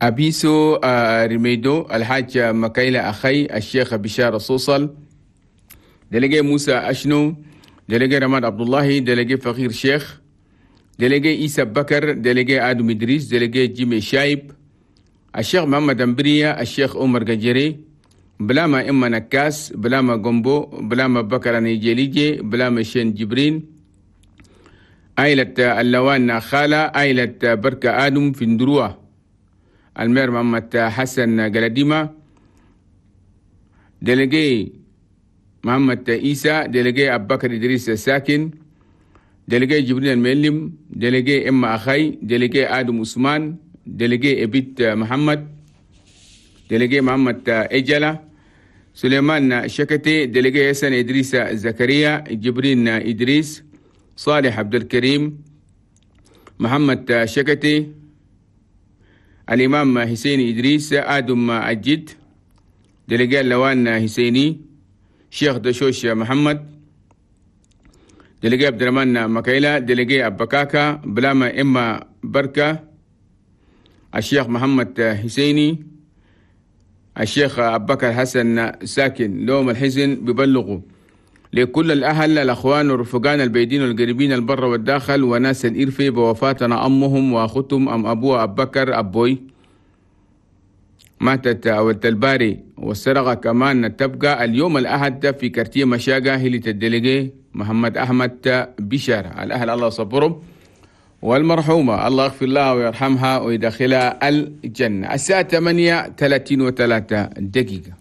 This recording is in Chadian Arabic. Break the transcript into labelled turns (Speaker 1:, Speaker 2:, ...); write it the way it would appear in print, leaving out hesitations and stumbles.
Speaker 1: أبيسو ريميدو، الحاج مكايلة أخي، الشيخ بشار الصوصل، délégué موسى أشنو، délégué رماد عبد الله، délégué فقير شيخ، délégué إيسى بكر، délégué آدم إدريس، délégué جيمي شايب، الشيخ محمد أمبريا، الشيخ عمر ججري، بلاما إما نكاس، بلاما جومبو، بلاما بكر نيجيليجي، بلاما شين جبرين، عائلة اللوان خالة، عائلة بركة آدم في ندروة، المير محمد حسن قلديمة، délégué محمد إيسى، délégué أبو بكر إدريس الساكن، délégué جبريل المعلم، délégué إما أخي، délégué آدم عثمان، délégué إبيت محمد، délégué محمد إجلة، سليمان شكتي، délégué حسن إدريس زكريا، جبرين إدريس، صالح عبد الكريم، محمد شكتي، الإمام حسين إدريس، آدم الجد، délégué اللوان حسيني، شيخ دشوش محمد، délégué عبد الرحمن مكايلة، délégué أبكاكا، بلاما إما بركة، الشيخ محمد حسيني، الشيخ أبو بكر حسن ساكن. لهم الحزن ببلغوا لكل الأهل الأخوان والرفقان البعيدين والقريبين البر والداخل وناس الإرفي بوفاتنا أمهم وأختهم أم أبوها أبو بكر أبوي ماتت أو الباري، والسرقة كمان تبقى اليوم الأحد في quartier مشاقة هلة ال délégué محمد أحمد بشارة. الأهل الله صبرهم، والمرحومة الله يغفر لها ويرحمها ويدخلها الجنة. الساعة 8:33.